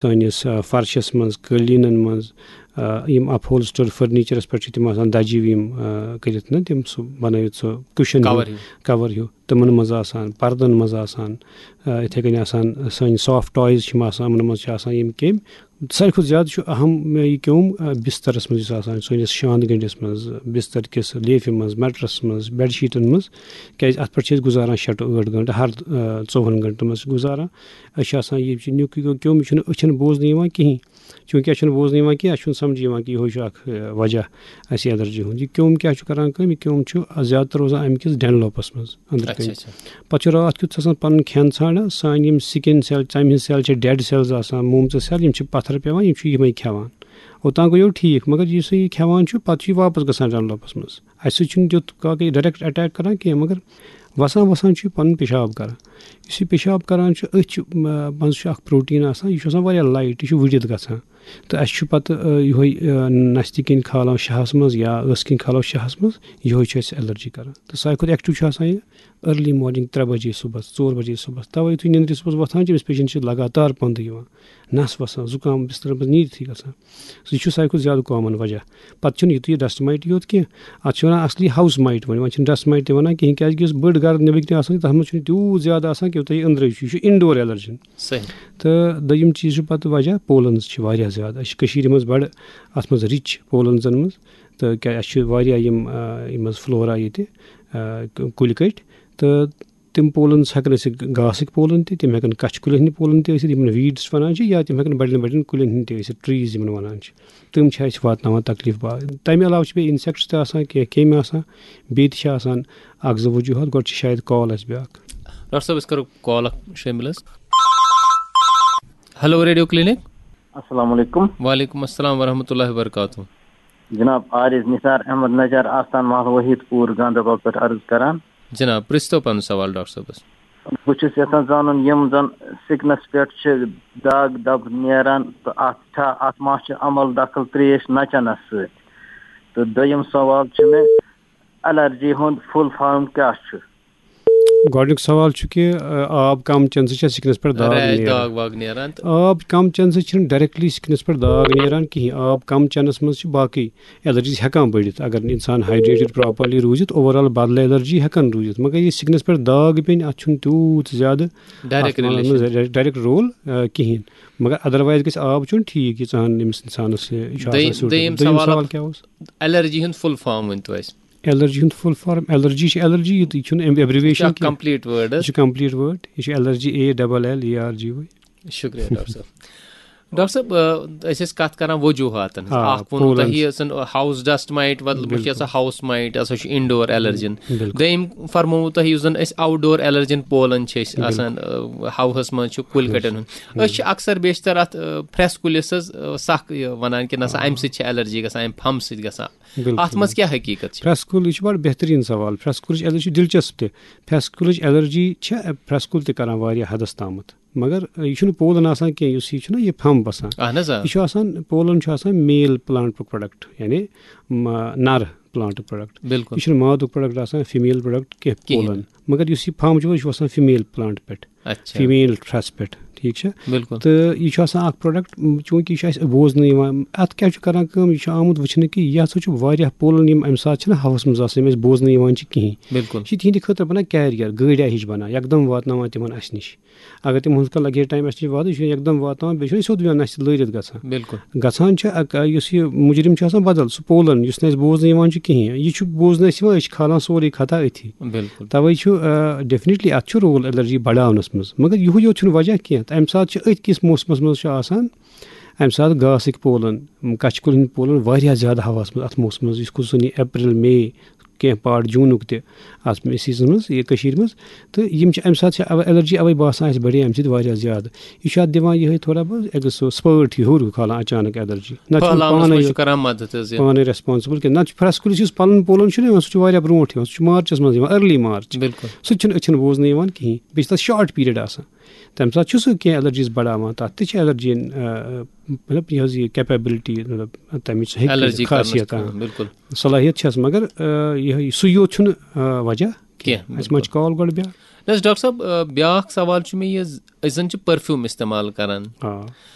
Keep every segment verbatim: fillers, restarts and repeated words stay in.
سٲنِس آ، فرشَس منٛز، قٲلیٖنَن منٛز، آ، یِم اَپہولسٹر فٔرنیٖچرَس پٮ۪ٹھ چھِ تِم آسان دَجہِ یِم آ، کٔرِتھ نہ تِم سُہ بَنٲوِتھ سُہ کُشَن ہیوٗ، کور ہیوٗ۔ کَور ہیوٗ، تِمَن منٛز آسان، پَردَن منٛز آسان، آ، یِتھَے کٔنۍ آسان سٲنۍ سافٹ ٹایِز چھِ یِم آسان، یِمَن منٛز چھِ آسان یِم کیٚمۍ۔ ساروی کھۄتہٕ زیادٕ چھُ اَہَم یہِ کیوٚم آ، بِستَرَس منٛز یُس آسان چھُ سٲنِس شانٛد گٔنٛڈِس منٛز، بِستَر کِس لیفہِ منٛز، میٹرَس منٛز، بیڈ شیٖٹَن منٛز، کیٛازِ اَتھ پٮ۪ٹھ چھِ أسۍ گُزاران شےٚ ٹُو ٲٹھ گھنٹہٕ ہر آ، ژوٚوُہَن گھنٹَن منٛز چھِ گُزاران۔ أسۍ چھِ آسان، یہِ چھُ نیُک یہِ کیوٚم، یہِ چھُنہٕ أچھَن بوزنہٕ یِوان کِہیٖنۍ۔ چوٗنٛکہِ اَسہِ چھُنہٕ بوزنہٕ یِوان کینٛہہ، اَسہِ چھُنہٕ سَمجھ یِوان کہِ یِہوٚے چھُ اَکھ، آ، وجہ اَسہِ ایلرجی ہُنٛد۔ یہِ کیوٚم کیٛاہ چھُ کَران کٲم؟ یہِ کیوٚم چھُ زیادٕ تَر روزان اَمہِ کِس ڈٮ۪نلوپَس منٛز، أنٛدرٕ اچھا، کَنۍ۔ اچھا۔ پَتہٕ چھُ راتھ کیُتھ آسان پَنُن کھٮ۪ن ژھانٛڈان، سانہِ یِم سِکِن سیل، ژَمہِ ہِنٛدۍ سیل چھِ، ڈٮ۪ڈ سیلٕز آسان، مومژٕ سیل، یِم چھِ پَتھَر پٮ۪وان، یِم چھِ یِمَے کھٮ۪وان۔ اوٚتام گوٚو یورٕ ٹھیٖک، مگر یُس یہِ کھٮ۪وان چھُ، پَتہٕ چھُ یہِ واپَس گژھان ڈٮ۪نلوپَس منٛز۔ اَسہِ سۭتۍ چھُنہٕ تیُتھ کانٛہہ کہِ ڈایریکٹ اٹیک کران کینٛہہ، مگر وسان وسان چھُ یہِ پنُن پیشاب کران۔ یُس یہِ پیشاب کران چھُ، أتھۍ چھُ، م-، منٛز چھُ اکھ پروٹین آسان، یہِ چھُ آسان واریاہ لایٹ، یہِ چھُ وُڈِتھ گژھان۔ تہٕ اَسہِ چھُ پتہٕ، آ، یِہوٚے، آ، نستہِ کِنۍ کھالان شہس منٛز یا ٲسہٕ کِنۍ کھالو شہس منٛز، یِہوٚے چھُ اَسہِ ایلرجی کران۔ تہٕ ساروی کھۄتہٕ ایکٹیو چھُ آسان یہِ ارلی مارننگ، ترٛےٚ بجے صبحس، ژور بجے صبحس۔ توے یُتھُے نیندرِ صبحس وۄتھان چھِ، أمِس پیشنٹ چھِ لگاتار پندٕ یِوان، نس وسان، زُکام بسترس منٛز نیٖرتھٕے گژھان۔ سُہ چھُ ساروی کھۄتہٕ زیادٕ کامن وجہ۔ پتہٕ چھُنہٕ یُتُے یہِ ڈسٹ مایٹ یوت کینٛہہ، اتھ چھِ ونان اصلی ہاوس مایٹ۔ وۄنۍ، وۄنۍ چھِنہٕ ڈسٹ مایٹ تہِ ونان کِہینۍ، کیازِ کہِ یُس بٔڑ گرد نیبٕرۍ کِنۍ آسان چھِ، تتھ منٛز چھُنہٕ تیوٗت زیادٕ آسان کینٛہہ، یوٗتاہ یہِ أنٛدرٕے چھُ۔ یہِ چھُ انڈور ایلرجن۔ صحیح۔ تہٕ دوٚیِم چیٖز چھُ پتہٕ وجہ، پولنز چھِ واریاہ زیادٕ۔ أسۍ چھِ کٔشیٖرِ منٛز بڑٕ اتھ منٛز رِچ پولنزن منٛز، تہٕ کیٛاہ، اَسہِ چھِ واریاہ یِم، آ، یِم حظ فلورا ییٚتہِ، آ، ک-، کُلۍ کٔٹۍ، تہٕ تِم پولنز ہٮ۪کن ٲسِتھ گاسٕکۍ پولن تہِ، تِم ہٮ۪کن کچھِ کُلٮ۪ن ہٕنٛدۍ پولن تہِ ٲسِتھ، یِمن ویٖڈٕس ونان چھِ، یا تِم ہٮ۪کن بڑٮ۪ن بڑٮ۪ن کُلٮ۪ن ہٕنٛدۍ تہِ ٲسِتھ، ٹریٖز یِمن ونان چھِ۔ تِم چھِ اَسہِ واتناوان تکلیف باغ۔ تَمہِ علاوٕ چھِ بیٚیہِ انسیکٹس تہِ آسان، کینٛہہ کیٚمۍ آسان، بیٚیہِ تہِ چھِ آسان اکھ زٕ وجوٗہات۔ گۄڈٕ چھِ شاید کال اَسہِ بیٛاکھ۔ ڈاکٹر صٲب، أسۍ کرو کال اکھ شٲمِل حظ۔ Hello, radio clinic. السلام علیکم۔ وعلیکم السلام ورحمۃ اللہ وبرکاتہ۔ جناب، عارض نثار احمد نجار، آستان محلہ وحید پور، گاندربل پٮ۪ٹھ عرض کران۔ جناب، پرٛژھتو پنُن سوال ڈاکٹر صٲبس۔ بہٕ چھُس یژھان زانُن، یِم زن سِکنس پٮ۪ٹھ چھِ داغ دب نیران، تہٕ اتھ چھا، اتھ ما چھِ عمل دخل ترٛیش نہ چٮ۪نس سۭتۍ؟ تہٕ دوٚیِم سوال چھُ مےٚ، الرجی ہُنٛد فُل فارم کیٛاہ چھُ؟ گۄڈٕنیُک سوال چھُ کہِ، آ، آب کم چٮ۪نہٕ سۭتۍ چھا سِکنس پٮ۪ٹھ داغ ریش نیران؟ داغ واغ نیران تہٕ آب کم چٮ۪نہٕ سۭتۍ چھِنہٕ ڈایریکٹلی سِکنس پٮ۪ٹھ داغ نیران کِہیٖنۍ۔ آب کم چٮ۪نس منٛز چھِ باقٕے ایلرجیز ہٮ۪کان بٔڑِتھ۔ اگر نہٕ انسان ہایڈریٹڈ پراپرلی روٗزِتھ، اوور آل بدلہٕ ایلرجی ہٮ۪کان روٗزِتھ۔ مگر یہِ سِکنس پٮ۪ٹھ داغ پیٚنۍ، اتھ چھُنہٕ تیوٗت زیادٕ ڈایریکٹ اَتھ منٛز ریلیشن۔ ڈایریکٹ رول، آ، کِہیٖنۍ۔ مگر ادروایز گژھِ آب چیوٚن ٹھیٖک، ییٖژاہ ہن أمِس انسانس یہِ چھُ آسان دوٚیِم، suitable۔ دوٚیِم دوٚیِم سوال سوال کیٛاہ اوس؟ الرجی ہُنٛد فُل فارم ؤنۍ تو اَسہِ۔ ایلرجی ہُنٛد فُل فارم، ایلرجی چھِ ایلرجی، یہِ تہِ چھُنہٕ اَمہِ یہِ چھُ ایبریویشن اکھ کینٛہہ۔ کمپلیٖٹ وٲرڈ یہِ حظ۔ چھُ کمپلیٖٹ وٲرڈ، یہِ چھُ allergy A double L E R G Y. شُکریہ ڈاکٹر صٲب۔ ڈاکٹر صٲب، آ، أسۍ ٲسۍ کتھ کران وجوہاتن ہٕنٛز۔ آ، اکھ ووٚنوٕ تۄہہِ پولنز۔ یہِ زن ہاوُس ڈسٹ مایٹ، مطلب، یہِ بِلکُل۔ ہسا ہاوُس مایٹ، یہِ ہسا چھُ انڈور ایلرجن۔ بِلکُل۔ دوٚیِم فرمووُ تۄہہِ یُس زن أسۍ آوُٹ ڈور ایلرجن پولن چھِ أسۍ بِلکُل۔ آسان، آ، ہوہس منٛز چھُ کُلۍ بِلکُل۔ کٹٮ۪ن ہُنٛد۔ أسۍ چھِ اکثر بیشتر اتھ، آ، پھرٛٮ۪س کُلِس حظ، آ، سکھ یہِ ونان کہِ نسا آ۔ امہِ سۭتۍ چھِ ایلرجی گژھان، امہِ پھمبہٕ سۭتۍ گژھان۔ بِلکُل، اتھ منٛز بِلکُل۔ کیٛاہ حقیٖقت چھِ؟ پھرٛٮ۪س کُل، یہِ چھُ بڑٕ بہتریٖن سوال۔ پھرٛٮ۪س کُلٕچ ایلرجی چھِ دلچسپ تہِ۔ پھرٛٮ۪س کُلٕچ ایلرجی چھِ، پھرٛٮ۪س کُل تہِ کران واریاہ حدس تامتھ۔ مگر، آ، یہِ چھُنہٕ پولن آسان کینٛہہ، یُس یہِ چھُنہ یہِ پھمب آسان۔ اہن حظ، آ۔ یہِ چھُ آسان، پولن چھُ آسان میل پلانٹُک پروڈکٹ، یعنی، م-، نر پلانٹُک پروڈکٹ۔ بِلکُل۔ یہِ چھُنہٕ مادُک پروڈکٹ آسان، فیمیل پروڈکٹ کینٛہہ، کِہیٖنۍ۔ پولن۔ مگر یُس یہِ پھمب چھُ، یہِ چھُ آسان فیمیل پلانٹ پٮ۪ٹھ، اچھا۔ فیمیل پھرٛٮ۪س پٮ۪ٹھ، ٹھیٖک چھا؟ بِلکُل۔ تہٕ یہِ چھُ آسان اکھ پروڈکٹ، م، چوٗنٛکہِ یہِ چھُ اَسہِ بوزنہٕ یِوان، اَتھ کیٛاہ چھُ کران کٲم؟ یہِ چھُ آمُت وٕچھنہٕ کہِ یہِ ہسا چھُ واریاہ پولن، یِم اَمہِ ساتہٕ چھِنہٕ ہوہَس منٛز آسان، یِم اَسہِ بوزنہٕ یِوان چھِ کِہیٖنۍ۔ بِلکُل۔ یہِ چھِ تِہِنٛدِ خٲطرٕ بَنان کیریَر، گٲڑیٛا ہِش بَنان، یکدم واتناوان تِمَن اَسہِ نِش۔ اگر تِمَن ہُتھ کٔنۍ لَگہِ ہے ٹایم اَسہِ نِش واتنَس، یہِ چھُ یکدم واتناوان، بیٚیہِ چھُنہٕ یہِ سیوٚد یِوان اَسہِ لٲرِتھ گژھان۔ بِلکُل۔ گژھان چھُ اَکھ، یُس یہِ مُجرِم چھُ آسان بدل، سُہ پولن، یُس نہٕ اَسہِ بوزنہٕ یِوان چھُ کِہیٖنۍ، یہِ چھُ بوزنہٕ اَسہِ یِوان، أسۍ چھِ کھالان سورُے خطا أتھی۔ بِلکُل۔ تَوَے چھُ، آ، definitely اَتھ چھُ رول ایلرجی بڑاونَس منٛز، مگر یِہُے یوت چھُنہٕ وجہ کینٛہہ۔ تَمہِ ساتہٕ چھِ أتھۍ کِس موسمَس منٛز چھُ آسان، اَمہِ ساتہٕ گاسٕکۍ پولن، کَچھہِ کُلۍ ہٕنٛدۍ پولن واریاہ زیادٕ ہوہَس منٛز، اَتھ موسمَس منٛز، یُس خصوٗصن یہِ اپریل، مئی، کینٛہہ پارٹ جوٗنُک تہِ اَتھ سیٖزنَس منٛز، یہِ کٔشیٖرِ منٛز۔ تہٕ یِم چھِ اَمہِ ساتہٕ چھِ اَوَ-، ایلرجی اَوَے باسان اَسہِ بَڑے اَمہِ سۭتۍ واریاہ زیادٕ۔ یہِ چھُ اَتھ دِوان یِہوٚے تھوڑا بہت ایٚگس-، سُہ spurt ہیوٗ ہیوٗر ہیوٗ کھالان اچانک ایلرجی۔ نتہٕ چھُنہٕ پھٔہلاونَس پانَے منٛز یوت چھُ کران مدد حظ یہِ۔ پانَے ریسپانسبل کینٛہہ۔ نتہٕ چھُ پھرٛٮ۪س کُلِس یُس پَلَن پولَن چھُنہ یِوان، سُہ چھُ واریاہ برونٛٹھ یِوان، سُہ چھُ مارچَس منٛز یِوان، ارلی مارچ۔ بِلکُل۔ سُہ تہِ چھُنہٕ أچھَن بوزنہٕ یِوان کِہیٖنۍ۔ بیٚیہِ چھِ تَتھ شارٹ پیٖریڈ آسان۔ تَمہِ ساتہٕ چھُ سُہ کینٛہہ ایلرجیٖز بڑاوان، تَتھ تہِ چھِ ایلرجی، آ، مطلب، یہِ حظ یہِ کیپیبلٹی، مطلب، تَمِچ ہیٚکہِ جی خاصیت، کَرنَس آ، کانٛہہ بِلکُل۔ صلاحیت چھَس، مگر، آ، یِہوٚے سُے یوت چھُنہٕ، آ، وجہ کینٛہہ۔ کینٛہہ، اَسہِ ما بِلکُل۔ چھِ کال گۄڈٕ بیٛاکھ؟ نہ حظ، ڈاکٹر صٲب، آ، بیٛاکھ سوال چھُ مےٚ یہِ، أسۍ زَن چھِ پٔرفیوٗم اِستعمال کَران۔ آ۔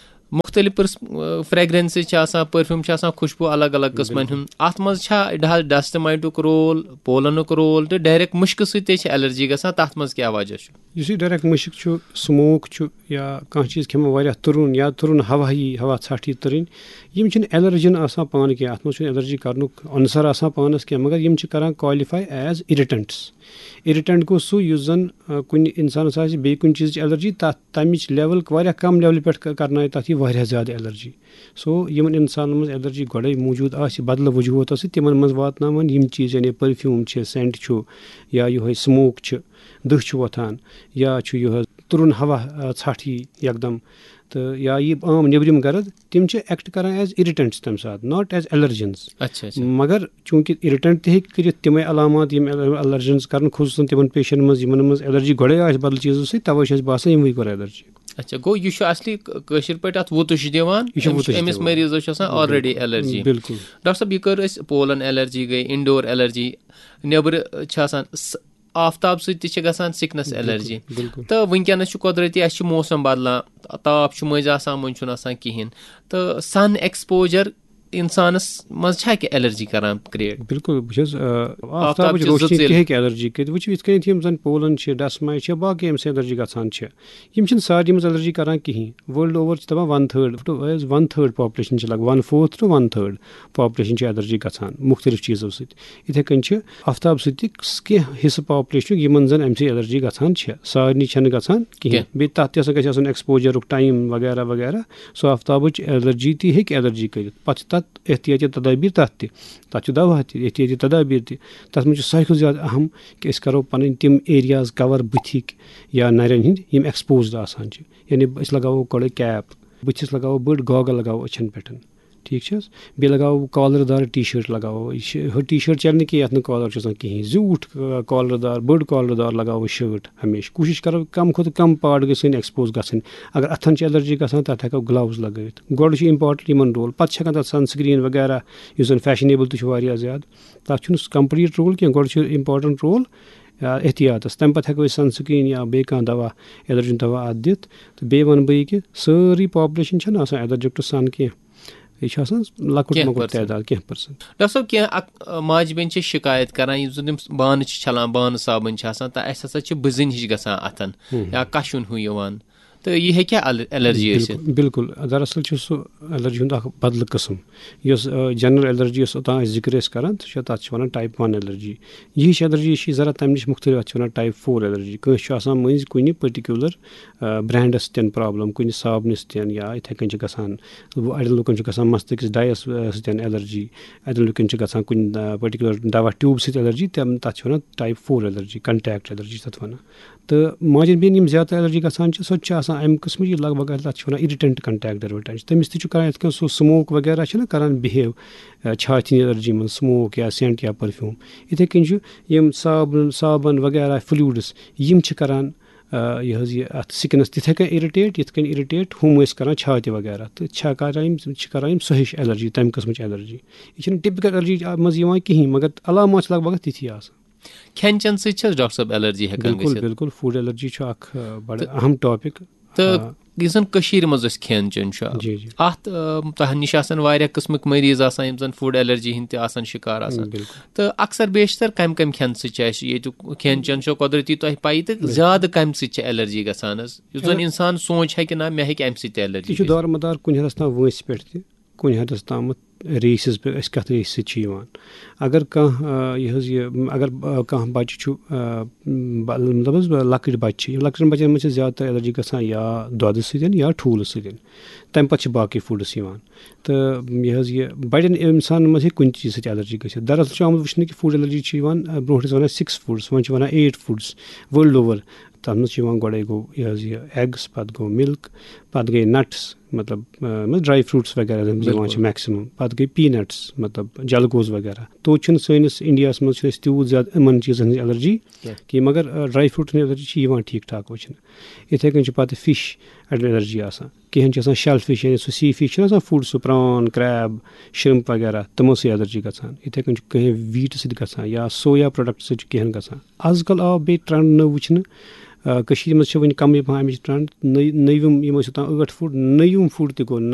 مُختٔلِف پٔرس-، فرٛیگرَنسٕز چھِ آسان، پٔرفیوٗم چھِ آسان، خوشبوٗ الگ الگ قٕسمَن ہُنٛد۔ اَتھ منٛز چھا ڈَسٹ مایٹُک رول، پولَنُک رول تہٕ ڈایریکٹ مُشکہٕ سۭتۍ تہِ چھِ الرجی گژھان، تَتھ منٛز کیٛاہ وجہ چھُ؟ یُس یہِ ڈایریکٹ مُشک چھُ، سموک چھُ، یا کانٛہہ چیٖز کھٮ۪مو واریاہ تُرُن، یا تُرُن ہوا یی، ہوا ژھٹھ یی تُرٕنۍ، یِم چھِنہٕ الرجن آسان پانہٕ کینٛہہ۔ اَتھ منٛز چھُنہٕ الرجی کرنُک عنصر آسان پانَس کینٛہہ، مگر یِم چھِ کران qualify as irritants۔ Irritant گوٚو سُہ، یُس زَن، آ، کُنہِ اِنسانَس آسہِ بیٚیہِ کُنہِ چیٖزٕچ الرجی، تَتھ، تَمِچ لیول واریاہ کَم لیولہِ پٮ۪ٹھ ک-، کرنایہِ تَتھ یہِ واریاہ زیادٕ الرجی۔ So، یِمن اِنسانَن منٛز الرجی گۄڈَے موٗجوٗد آسہِ بدلہٕ وجوٗہاتو سۭتۍ، تِمن منٛز واتناوان یِم چیٖز، یعنی پٔرفیوٗم چھِ، سینٹ چھُ، یا یِہوٚے سموک چھِ، دٕہ چھُ وۄتھان، یا چھُ یِہوٚے تُرُن ہوا، آ، ژھٹھ یی یکدم، تہٕ یا یہِ عام نیٚبرِم گرد، تِم چھِ ایکٹ کران as irritants تَمہِ ساتہٕ، not as allergens۔ اچھا، اچھا۔ مگر چوٗنٛکہِ اِرِٹنٹ تہِ ہیٚکہِ کٔرِتھ تِمے علامات، یِم الرجنز کرن، خصوٗصن تِمن پیشنٹن منٛز، یِمن منٛز الرجی گۄڈے آسہِ بدل چیٖزو سۭتۍ، توے چھُ اَسہِ باسان یِموٕے کوٚر الرجی۔ اچھا، گوٚو یہِ چھُ اصلی ک-، کٲشِر پٲٹھۍ اَتھ وُتُش دِوان۔ یہِ چھُ أمِس، وُتُش أمِس دِوان۔ مریضس چھُ آسان already الرجی۔ بِلکُل۔ ڈاکٹر صٲب، یہِ کٔر اَسہِ پولن الرجی گٔے، انڈور الرجی، نیٚبرٕ چھِ آسان س-، آفتاب سۭتۍ تہِ چھِ گژھان سِکنس بِلکُل، الرجی۔ بِلکُل۔ تہٕ وٕنکیٚنس چھُ قۄدرٔتی، اَسہِ چھُ موسم بدلان، تاپھ چھُ مٔنٛزۍ آسان، مٔنٛزۍ چھُنہٕ آسان کِہیٖنۍ۔ تہٕ سن ایکسپوجر انسانس منٛز چھا کینٛہہ الرجی کران کریٹ؟ بِلکُل، بہٕ چھُس، آ، آفتابٕچ آفتابٕچ زٕ روشنی تہِ ژِلۍ۔ ہیٚکہِ الرجی کٔرِتھ۔ وٕچھِو، یِتھ کٔنۍ یِم زن پولن چھِ، ڈسماے چھِ، باقٕے اَمہِ سۭتۍ الرجی گژھان چھِ۔ یِم چھِنہٕ سارنٕے منٛز الرجی کران کِہیٖنۍ۔ World over چھِ دَپان one third، one third population چھِ لگ، one fourth to one third population چھِ الرجی گژھان مُختٔلِف چیٖزو سۭتۍ۔ یِتھَے کٔنۍ چھِ آفتاب سۭتۍ تہِ کینٛہہ حصہٕ پاپولیشنُک یِمن زَن اَمہِ سۭتۍ الرجی گژھان چھِ، سارنٕے چھَنہٕ گژھان کِہیٖنۍ۔ کینٛہہ۔ بیٚیہِ تَتھ تہِ ہسا گژھِ آسُن ایکسپوجرُک ٹایم وغیرہ وغیرہ۔ سُہ آفتابٕچ الرجی تہِ ہیٚکہِ الرجی کٔرِتھ۔ پَتہٕ چھِ تَتھ احتیاطی تدابیٖر تَتھ تہِ، تَتھ چھُ دوا تہِ، احتیاطی تدابیٖر تہِ۔ تَتھ منٛز چھُ ساروی کھۄتہٕ زیادٕ اَہَم کہِ أسۍ کَرو پَنٕنۍ تِم ایریاز کَور بٕتھِکۍ یا نَرٮ۪ن ہِنٛدۍ، یِم ایکسپوزڈ آسان چھِ۔ یعنی أسۍ لگاوو گۄڈٕ کیپ، بٕتھِس لگاوو بٔڑ گاگل، لگاوو أچھن پٮ۪ٹھ۔ ٹھیٖک چھِ حظ؟ بیٚیہِ لگاوو کالر دار ٹی شٲٹ لگاوو۔ یہِ چھِ، ہُہ ٹی شٲٹ چلہِ نہٕ کینٛہہ یَتھ نہٕ کالر چھُ آسان کِہیٖنۍ۔ زیوٗٹھ، آ، کالر دار، بٔڑ کالر دار لگاوو شٲٹ ہمیشہِ۔ کوٗشِش کرو کم کھۄتہٕ کم پارٹ گٔژھۍ سٲنۍ ایکسپوز گژھٕنۍ۔ اگر اَتھن چھِ الرجی گژھان، تَتھ ہٮ۪کو گلوز لگٲوِتھ۔ گۄڈٕ چھُ امپارٹنٹ یِمن رول، پتہٕ چھِ ہٮ۪کان تَتھ سن سکرین وغیرہ، یُس زن فیشنیبل تہِ چھُ واریاہ زیادٕ۔ تَتھ چھُنہٕ سُہ کمپلیٖٹ رول کینٛہہ، گۄڈٕ چھُ امپارٹنٹ رول، آ، احتیاطس۔ تَمہِ پتہٕ ہٮ۪کو أسۍ سن سکرین یا بیٚیہِ کانٛہہ دوا، الرجی دوا اَتھ دِتھ۔ تہٕ بیٚیہِ وَنہٕ بہٕ یہِ کہِ سٲرٕے پاپولیشن چھَنہٕ آسان الرجک ٹُو سن کینٛہہ۔ یہِ چھُ آسان لۄکُٹ کینٛہہ مۄکُٹ percent۔ تعداد، کینٛہہ پرسنٹ۔ ڈاکٹر صٲب، کینٛہہ اَک-، ماجہِ بیٚنہِ چھِ شِکایت کران، یِم زَن تِم بانہٕ چھِ چھَلان، بانہٕ صابن چھِ آسان، تہٕ اَسہِ ہسا چھِ بٕزٕنۍ ہِش گژھان اَتھن، ہُم۔ یا کَشُن ہیوٗ یِوان، تہٕ یہِ ہیٚکیٛاہ ال-، الرجی ٲسِتھ؟ بِلکُل، بِلکُل۔ دراصل چھُ سُہ الرجی ہُنٛد اَکھ بدلہٕ قٕسم۔ یۄس، آ، جنرل الرجی یۄس اوٚتام أسۍ ذِکر ٲسۍ کران، سُہ چھُ، تَتھ چھِ وَنان type one allergy۔ یہِ ہِش الرجی چھِ ذرا تَمہِ نِش مُختٔلِف، اَتھ چھِ وَنان type four allergy۔ کٲنٛسہِ چھُ آسان مٔنٛزۍ کُنہِ particular، آ، برانڈس سۭتۍ پرابلم، کُنہِ صابنہِ سۭتۍ یا یِتھَے کٔنۍ چھِ گژھان، اَڑٮ۪ن لُکن چھُ گژھان مستٕکِس ڈایَس، آ، سۭتۍ الرجی، اَڑٮ۪ن لُکن چھِ گژھان کُنہِ، آ، particular دوا ٹیوٗب سۭتۍ الرجی، تِم، تَتھ چھِ وَنان type four allergy، contact allergy چھِ تَتھ وَنان۔ تہٕ ماجن بیٚنٮ۪ن یِم زیادٕ تر الرجی گژھان چھِ، سۄ تہِ چھِ آسان اَمہِ قٕسمٕچ، یہِ لگ بگ تَتھ چھِ وَنان irritant contact dermatitis۔ تٔمِس تہِ چھُ کران یِتھ کٔنۍ سُہ سموک وغیرہ چھِنہ کران بِہیو، آ، چھاتہِ ہِنٛدِ الرجی منٛز سموک یا سینٹ یا پٔرفیوٗم۔ یِتھَے کٔنۍ چھُ یِم صابن، صابن وغیرہ، فلوٗڈس، یِم چھِ کران، آ، یہِ حظ یہِ اَتھ سِکنَس تِتھَے کٔنۍ اِرِٹیٹ، یِتھ کٔنۍ اِرِٹیٹ ہُم ٲسۍ کران چھاتہِ وغیرہ، تہٕ چھا کران یِم، چھِ کران یِم سۄ ہِش الرجی، تَمہِ قٕسمٕچ الرجی۔ یہِ چھِنہٕ ٹِپِکل الرجی منٛز یِوان کِہیٖنۍ، مگر علامات چھِ لگ بگ تِتھی آسان۔ کھٮ۪ن چٮ۪ن سۭتۍ چھِ حظ ڈاکٹر صٲب الرجی ہٮ۪کان بِلکُل، گٔژھِتھ؟ بِلکُل، فوڈ الرجی چھُ اکھ، آ، بڑٕ تہٕ اہم ٹاپک۔ تہٕ آ۔ یُس زن کٔشیٖرِ منٛز أسۍ کھٮ۪ن چٮ۪ن چھُ، جی، جی۔ اتھ، آ، تۄہہِ نِش آسن واریاہ قٕسمٕکۍ مریض آسان، یِم زن فوڈ الرجی ہٕنٛدۍ تہِ آسان شکار آسان۔ بِلکُل۔ تہٕ اکثر بیشتر کمہِ کمہِ کھٮ۪نہٕ سۭتۍ چھِ اَسہِ ییٚتیُک کھٮ۪ن چٮ۪ن چھُ قۄدرتی تۄہہِ پَیی، تہٕ بِلکُل۔ زیادٕ کمہِ سۭتۍ چھِ الرجی گژھان حظ؟ یُس زن اگر اِنسان سونٛچہِ ہا کہِ نہ، مےٚ ہیٚکہِ اَمہِ سۭتۍ تہِ الرجی یہِ چھُ گٔژھِتھ۔ دارمدار کُنہِ حدس تام وٲنٛسہِ پٮ۪ٹھ تہِ، کُنہِ حدس تامتھ ریسز پٮ۪ٹھ، أسۍ کتھ ریسہِ سۭتۍ چھِ یِوان۔ اگر کانٛہہ، آ، یہِ حظ یہِ، اگر، آ، کانٛہہ بچہِ چھُ، آ، ب-، مطلب حظ، لۄکٕٹۍ بچہِ چھِ، یِم لۄکٹٮ۪ن بچن منٛز چھِ زیادٕ تر الرجی گژھان یا دۄدٕ سۭتۍ یا ٹھوٗلہٕ سۭتۍ۔ تمہِ پتہٕ چھِ باقٕے فوڈس یِوان۔ تہٕ یہِ حظ یہِ بڑٮ۪ن انسانن منٛز ہیٚکہِ کُنہِ چیٖزٕ سۭتۍ الرجی گٔژھِتھ۔ دراصل چھُ آمُت وٕچھنہٕ کہِ فوڈ الرجی چھِ یِوان، آ، برونٛٹھ ٲسۍ ونان six foods، وۄنۍ چھِ ونان eight foods world over۔ تَتھ منٛز چھِ یِوان گۄڈَے گوٚو یہِ حظ یہِ eggs، پَتہٕ گوٚو milk، پَتہٕ گٔے nuts، مطلب، آ، مطلب dry fruits وغیرہ یِم یِوان چھِ بِلکُل۔ Maximum، پَتہٕ گٔے peanuts، مطلب جلگوز وغیرہ۔ توتہِ چھُنہٕ سٲنِس انڈیاہَس منٛز چھُنہٕ اَسہِ تیوٗت زیادٕ یِمَن چیٖزَن ہٕنٛز الرجی کینٛہہ۔ کینٛہہ، مگر، آ، dry fruit ہٕنٛز الرجی چھِ یِوان ٹھیٖک ٹھاک وٕچھنہٕ۔ یِتھَے کٔنۍ چھِ پَتہٕ fish الرجی آسان۔ کینٛہہ چھِ آسان shell fish، یعنی سُہ sea fish چھُنہٕ آسان food، سُہ prawn، crab، shrimp وغیرہ، تِمو سۭتۍ الرجی گژھان۔ یِتھَے کٔنۍ چھُ کینٛہہ wheat سۭتۍ گژھان یا soya product سۭتۍ چھُ کینٛہہ گژھان۔ آز کل آو بیٚیہِ trend نٔو وٕچھنہٕ، آ، کٔشیٖرِ منٛز چھِ وٕنہِ کَمٕے پَہَم اَمِچ ٹرٛنٛڈ۔ نٔے-، نٔوِم یِم ٲسۍ اوٚتام ٲٹھ فُٹ، نٔوِم فُٹ تہِ گوٚو نَیہِ۔